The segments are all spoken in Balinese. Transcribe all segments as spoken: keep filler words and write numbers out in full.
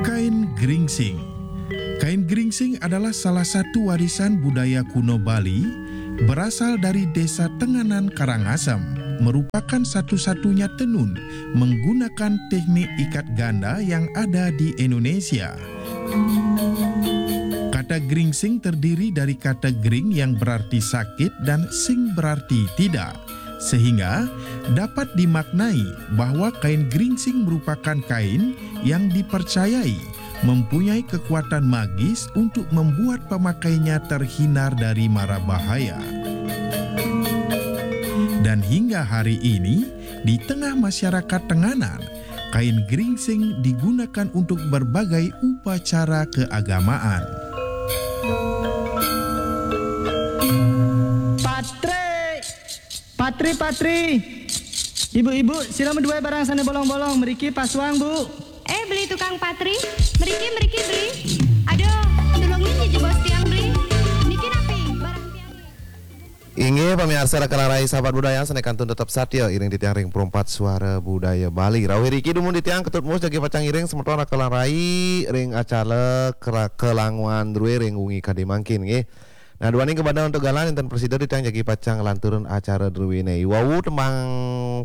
Kain geringsing. Kain geringsing adalah salah satu warisan budaya kuno Bali, berasal dari Desa Tenganan Karangasem, merupakan satu-satunya tenun menggunakan teknik ikat ganda yang ada di Indonesia. Kata geringsing terdiri dari kata gering yang berarti sakit dan sing berarti tidak, sehingga dapat dimaknai bahwa kain geringsing merupakan kain yang dipercayai mempunyai kekuatan magis untuk membuat pemakainya terhindar dari mara bahaya. Dan hingga hari ini, di tengah masyarakat Tenganan, kain geringsing digunakan untuk berbagai upacara keagamaan. Patri! Patri, Patri! Ibu-ibu, sila meduai barang sane bolong-bolong, meriki pasuang, Bu. Eh, beli tukang patri, meriki, meriki, beli. Aduh, tulungin ya jebos tiang, beli. Niki napi barang tiang, beli. Inggih, pamiarsa, Raka Larai, sahabat budaya, sane kantun tetep satia iring titiang ring Perumpat Suara Budaya Bali. Rauh iriki dumun titiang Ketut Mus jagi pacang iring semeton Raka Larai ring acara Kera-, Kelanguan Drue ring wengi kadi mangkin, nggih. Nah, duaning kabanda antuk galah, inten prasida titiang jagi pacang nglanturang acara druene. Iwau tembang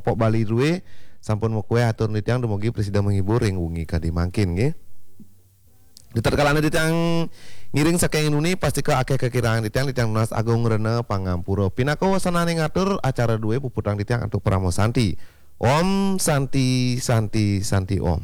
pop Bali drue sampun makueh atur titiang, dumugi prasida menghibur ring wengi kadi mangkin, nggih. Di tatkala titiang ngiring saking nuni, pastika akeh kakirangan titiang, titiang nunas agung rena pangampura. Pinaka wasananing atur acara drue puputang titiang antuk Parama Santi. Om Santi, Santi, Santi Om.